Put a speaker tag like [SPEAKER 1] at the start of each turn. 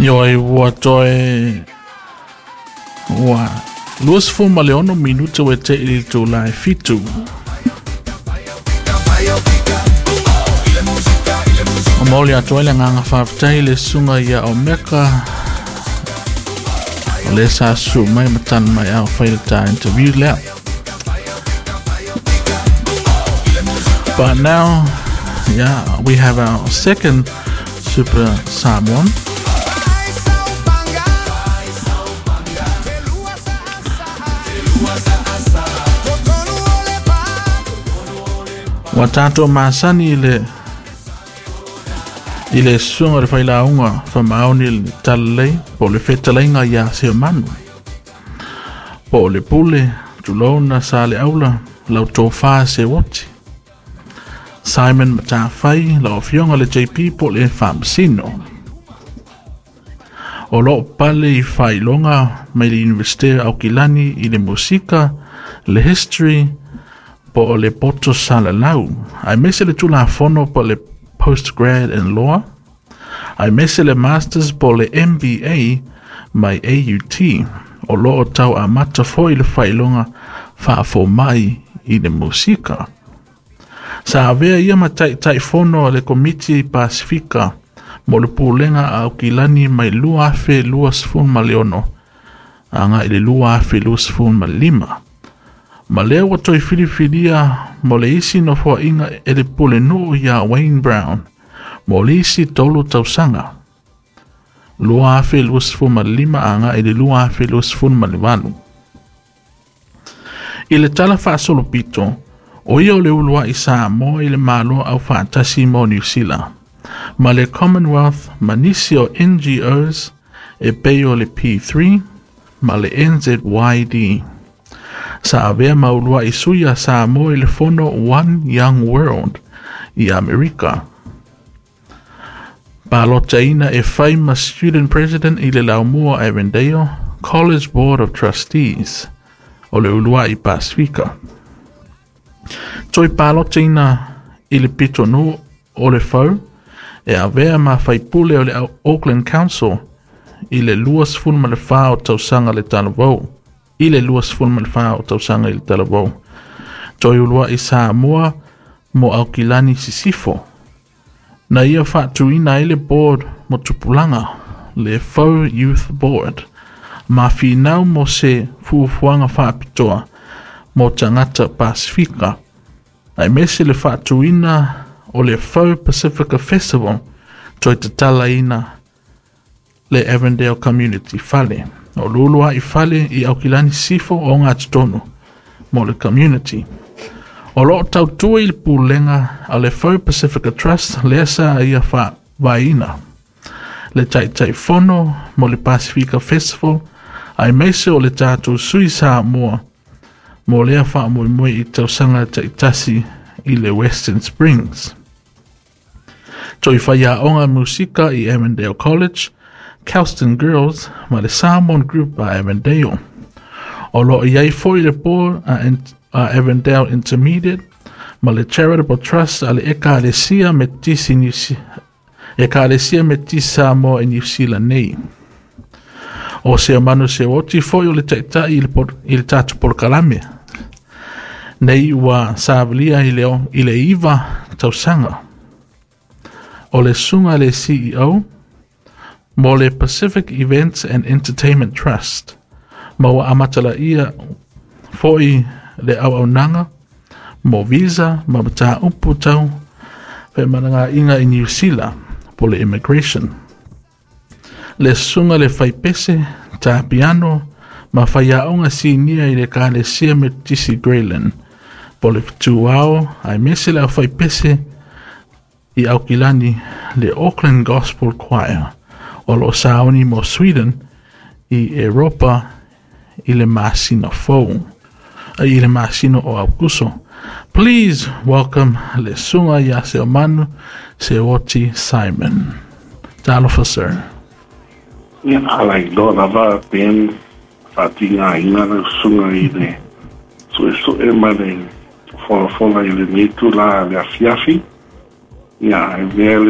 [SPEAKER 1] Ioe ua toe ua 26 minute ua te i le itulā e 7. O maoli atu ai le agaga faafetai i le susuga ia Omeka o le sa susu mai ma tali mai a o fai le ta interview lea. But now, yeah, we have our second Super Samoan. Ua tātou masani i le i le susuga o le failauga faamaoni i le talalelei po o le fetalaiga iā Seomanu po o le pule tulouna sa le aula lau tofa Seuoti Simon Matafai lau afioga le JP po o le Faamasino. O lo o pale i faailoga mai le Universite o Aukilani i le musika, le history po o le poto salalau, aemaise le Tulafono po o le Postgrad in Law, aemaise le Masters po o le MBA mai AUT. O lo o tau amata foi le faailoga faafomai i le musika. Sa avea ia ma Taitaifono a le Komiti Pasifika mo le Pulega a Aukilani mai 2026 agai i le 2025. Ma lea ua toe filifilia mo le isi nofoaiga e le Pulenuu ia Wayne Brown mo le isi 3 tausaga, 2025 agai i le 2028. I le tala faasolopito, o ia o le uluai Samoa i le Malo Aufaatasi mo Niu Sila, ma le Commonwealth ma nisi o NGOs e pei o le P3 ma le NZYD. Sa avea ma uluai sui a Samoa i le fono One Young World i Amerika. Palotaina e fai ma Student President i le laumua Avondale College Board of Trustees o le uluai Pasifika. Toe palotaina i le pitonuu o le Fau e avea ma faipule o le Auckland Council i le 24 o tausaga le talavou. I le 24 o tausaga i le talavou. Toe uluai Samoa mo Aukilani Sisifo. Na ia faatuina ai le board mo tupulaga, le Fau Youth Board, ma finau mo se fuafuaga faapitoa mo tagata Pasifika, aemaise le faatuina o le Fau Pacifica Festival toe tatalaina le Avondale Community Fale. O lulua'i fale i Aukilani Sisifo o ogatotonu mo le community. O lo o tautua i le pulega a le Fau Pacifica Trust lea sa ia faavaeina le Taitaifono mo le Pasifika Festival aemaise o le tatou sui Samoa mo lea faamoemoe i tausaga taitasi i le Western Springs. Toe faiaoga musika i Avondale College, Kelston Girls ma le Samoan Group a Avondale. O lo o i ai foi le board a, a Avondale Intermediate ma le Charitable Trust a le Ekalesia Metisi New Ekalesia Metisi Samoa i Niu Sila nei. O Seomanu Seoti foi o le taitai i le, i le tatou polokalame. Nei ua savalia i le, i le 9 tausaga. O le susuga le CEO mo le Pacific Events and Entertainment Trust, ma ua amatalaia foi le auaunaga mo visa ma mataupu tau femalagaaiga i Niu Sila po le immigration. Le susuga le faipese, tā piano ma faiaoga sinia i le Ekalesia Metotisi Greyland po le Fetuao aemaise le aufaipese i Aukilani le Auckland Gospel Choir o lo o sauni mo Sweden i Eropa i le masina fou i le masina o Aukuso. Please welcome le susuga ia Seomanu Seoti Simon. Talofa sir.
[SPEAKER 2] Ia, ala i loa lava Ben faatigāina lau susuga i le suesue ma le folafola i lenei tula le afiafi. Ia, e mea le